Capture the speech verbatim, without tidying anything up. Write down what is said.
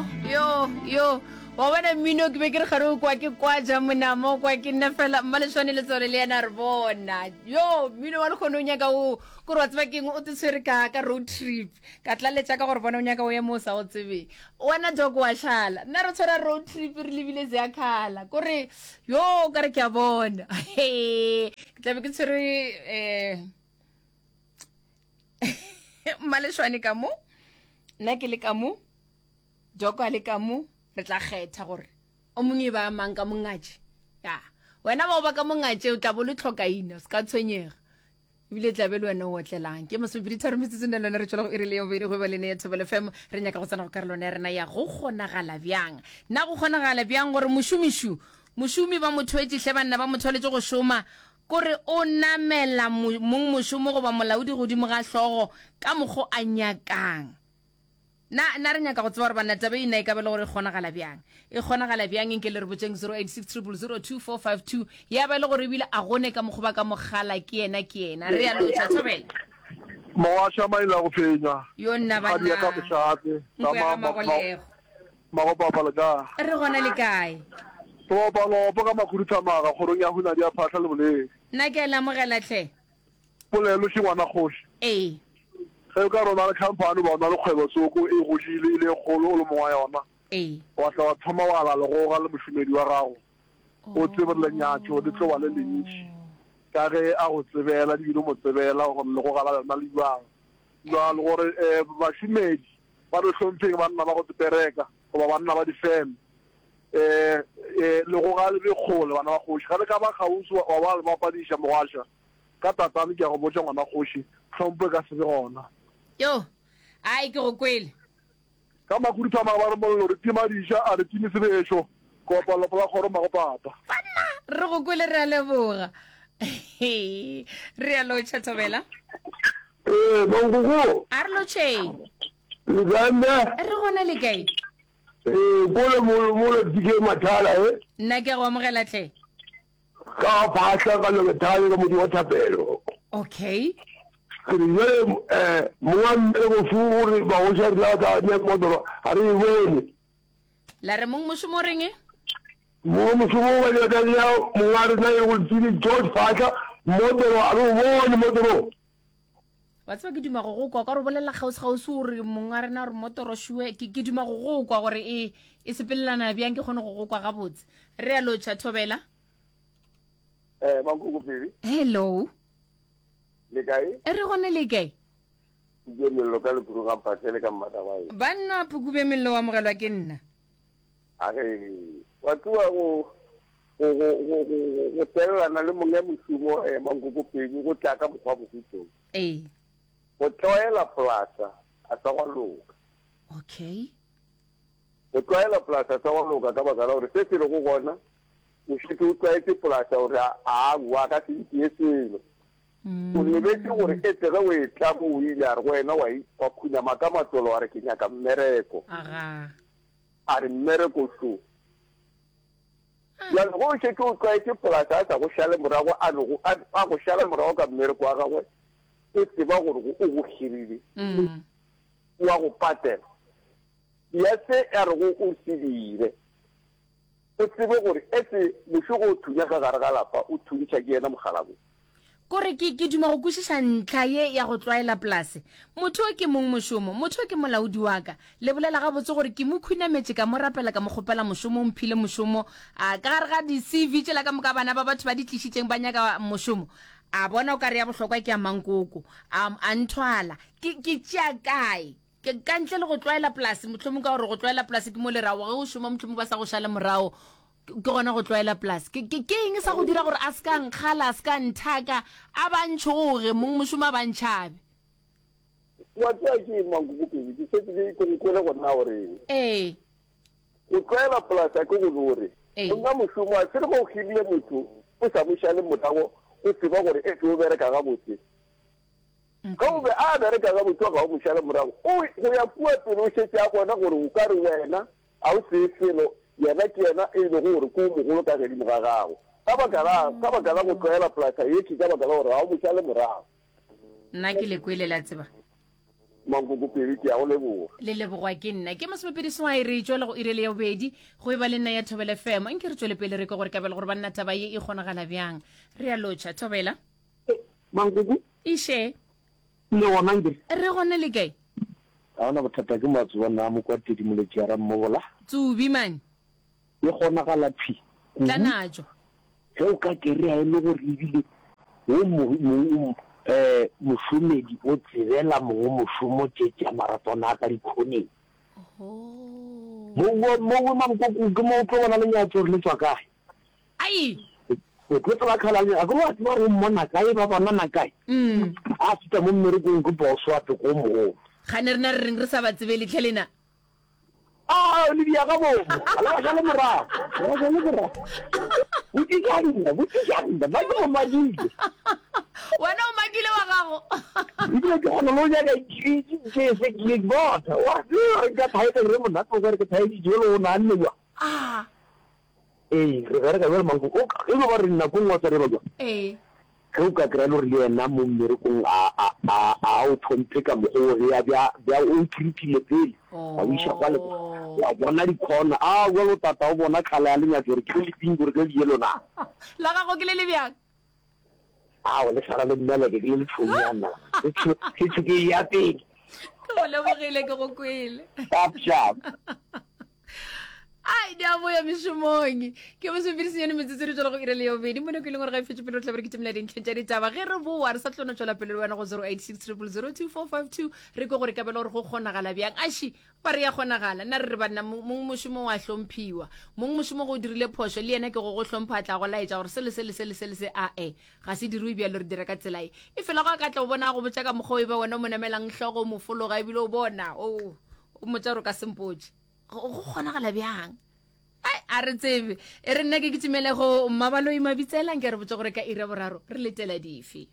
Yo, yo, yo. Wa bona mmino ke be ke re gare o kwa ke kwa ja monamo kwa ke nna fela mmalešwane letswalo le yena re bona. Yo, mmino wa lekgono o nyaka o kore wa tseba keng o te tshwere ka ka road trip. Ka tlaletša ka gore bona o nyaka o ye mo o sa o tsebeng. Wena dog wa šala. Nna re tshwara road trip re lebile Zeakhala. Kore yo ka re ke a bona. Ke tla be ke tshwere eh mmalešwane ka mo. Nna ke le ka mo. Doko a le ka mo re tla kgetha gore o mongwe e ba mang ka mongatše ya wena ba o ba ka mongatše o tla bo le tlhokaina o se ka tshwenyega ebile tla be le wena o otlelang ke masomepedi tharo metsotso ne lone re tšwela go iri le ya bobedi go e ba le ne ya Thobela F M re nyaka go tsena go karolwana ya rena ya go kgonagala bjang na go kgonagala bjang gore mošomišu mošomi ba mo thwetše hle banna ba mo thwaletše go šoma kore o namela mong mošomo goba molaodi godimo ga hlogo ka mokgo a nyakang Na, na re nyaka go tseba gore banna taba e na e ka ba le gore e kgonagala bjang? E kgonagala bjang? Nke le re botšeng zero eight six triple zero two four five two. Ya ba e le gore ebile a gone ka mokgwa ba ka mogala ke yena ke yena. Re a lotšha, thobela. Mogasha maile a go fenywa. Yo nna Kgadi ya ka banna. mošate. Nko ya Ka ga ma, ma, ma, Magolego. Magopapa le kae? Re gona le kae? Re opa lopo ka makhuduthamaga kgorong ya Hunadi ya Phahla le Boleng. Nna ke a le amogela hle. Polelo še ngwana kgoši. Ee. Ge o ka re o na le khamphani goba o na le kgwebo tsoko e godile e le e kgolo o le mong wa yona, Ee. wa tla wa thoma wa ala legoga le mošomedi wa gago, o tsebe gore lenyatšo le tlo ba le lentši ka ge a go tsebela ebile o mo tsebela gore legoga la lena le bjang. Bjalo gore um bašomedi ba re hlompheng banna ba go bereka goba banna ba difeme, um legoga le be kgole bana ba kgoši. Ge le ka ba kgauswi wa ba le bapadiša mogwaša, Ka tatane ke a go botša ngwana kgoši, tlhompho e ka se be gona. Yo, ai ke go kwele. Ka makhuduthamaga ba re mollo re tima diša, a re time sebešo. Kopa lopo la kgoro mmagopapa. Banna, re go kwele re a leboga. Re a lotšha Thobela. Ee, mankoko. A re lotšheng. Le kae mme? Re gona le kae? Ee, kole molo molo T K Mathala e. Nna ke a go amogela hle. Ka phahla ka Lobethane ka motse wa thapelo. Okay. Ke re jale um monga mmereko fu gore bagoši a rena ba tla nea motoro ga re e bone. La re mong mošomo o reng? Mong mošomo ba tla nea monga rena e go Tsili George Phahla motoro ga re o bone motoro. Wa tseba ke duma go go kwa ka re bolela kgauswi kgauswi gore mong a rena gore motoro šue ke ke duma go go kwa gore e e sepelelana bjang ke kgone go go kwa gabotse. Re a lotšha Thobela. Eh, Mankoko Phiri. Hello. Le kae? Re gone le kae? Ke mello ka lekuru ga mphahlele ka mmatabae. Banna Phukube mello wa amogelwa ke nna. A re wa tloga go go go go go go tellana le monga mošomo eh Mankoko Phiri go tla ka mokgwa bohutong. Ee. Go tlwaela polasa a sa gwa loka. Okay. Go tlwaela polasa a sa gwa loka ka baka la gore se se lego gona o šetše o tlwaetše polasa gore aowa a ka se ntšee selo. O lebetše gore etse ge o etla mo o ile a re go wena wa wa khunama ka matsolo wa re ke nyaka mmereko. Aga. A re mmereko šo. Bjale ge o šetše o tlwaetše polasa a sa go šale morago a no go a go šala morago ka mmereko wa gagwe o tseba gore o go hirile. O a go patela. Ya se a rego o se dire. O tsebe gore etse mošogo o thunya ka gare ga lapa, o thuntšha ke yena mokgalabje. Kore ke, ke duma go kwešiša ntlha ye ya go tlwaela polase. Motho o ke mongmošomo, motho o ke molaodi wa ka. Le bolela gabotse gore ke mo khunametše, ka mo rapela, ka mo kgopela mošomo, o mphile mošomo. A, ka gare ga di-C V tšela ka moka bana ba batho ba di tlišitšeng ba nyaka mošomo, a bona o ka re ya bohlokwa ke ya mankoko, a, a nthwala. Ke, ke tšea kae? Ke, ka ntle le go tlwaela polase, mohlomong ka gore go tlwaela polase ke mo le rago, ge o šoma mohlomong ba sa go šale morago, ke gona go tlwaela polase. Ke, ke, ke eng sa go dira gore a se ka nkgala, a se ka nthaka, a ba ntšhoge, mongmošomo a ba ntšhabe? Wa tseba ke eng, Mankoko Pedi, ke šetše ke, ke go kwele gore na o reng. Ee. Go tlwaela polase a ke go no re, Ee. Monna mošomo a se re ge o hirile motho o sa mo šale morago, o tseba gore etse o bereka gabotse. Ge o be a bereka gabotse ga o mo šale morago, o go ya kua pele o šetše a bona gore o ka re wena ga o tsee selo, yena ke yena e lego gore ke o mogolo ka gedimo ga gago. Ka baka la, ka baka la go tlwaela polasa ye ke ka baka la gore ga o mo šale morago. Nna ke le kwele, la tseba. Mankoko pedi ke a go leboga. Le lebogwa ke nna. Ke masomepedi seswai re tšwela go iri le ya bobedi go e ba le nna ya Thobela F M. Nke re tšwele pele re kwe gore kabelo gore banna taba ye e kgonagala bjang. Re a lotšha Thobela. Mankoko. Iše. Le gona nke. Re gona le kae? Ga ona bothata ke Matsobane a Mokwatedi Moletši a Rammobola. Tsubi man. E kgonagala thwi kudu. Tla natšo. Ge o ka kereya e le gore ebile wo mo, mo, eh, mošomedi o tsebela mongwe mošomo tše tša maratwana a ka dikhoneng. Mowe, mowe mankoko ke mo o tlo bona lenyatšo gore le tšwa kae. Ai! O tlo tseba kgala le, akere wa tseba gore o mmona kae, ba bonana kae. A fihla mo mmerekong ke boso wa peko o mogolo. Kgane rena re reng re sa ba tsebele tlhe lena? A le dia ka bomo, a le ba šale morago, le ba šale morago. Botšiša nna, botšiša nna, nna ke mo madile. Wena o makile wa gago. Ebile ke kgona le go nyaka ke se ke bona. Wa tseba nka thaetsa ke re monate o ka re ke thaeditše jalo o nahanne jwang. Ah. Ee, re bereka bjalo manko. O ka, e no ba re nako nngwe wa tseba re ba jwang. Ee. Ge o ka kry-a le gore le yena mo mmerekong a, a, a, a o tlhomphe ka mokgwa o ge a bja, bja o treat-ile pele, wa o iša kwa le kwa, wa bona di-corner, a bjalo tata o bona colour ya lenyatso gore ke le le pink gore ke le le yellow na. La gago ke le le bjang? Ao, le swana le mmeleke, ke le le tšhounyana, le tšho, le tšho ke ya pele. Ke go lebogile, ke go kwele. Sharp, sharp. Ai, di a boya mešomong. Ke masomepedi senyane metsotso re tšwela go ira le ya bobedi mo nako e leng gore ga e fetše pele re tla be re kitimela dintlheng tša ditaba. Ge re boa re sa tlo no tšwela pele le wena go zero eight six triple zero two four five two re kwe gore kabelo gore go kgonagala bjang. Aši ba re ya kgonagala. Nna re re banna mong mošomo wa hlomphiwa. Mong mošomo go dirile phošo le yena ke go go hlompha a tla go laetša gore se le se le se le se le se a e ga se diriwe bjalo re dira ka tsela e. E fela go a ka tla o bona a go botša ka mokgwa o e ba wena o mo namelang hlogo o mo fologa ebile o bona o o mmotša gore o ka se mpotše. Go go kgonagala bjang? Ai, a re tsebe. E re nna ke kitimele go Mmabaloi Mabitsela nke re botse gore ka iri ya boraro re letela dife.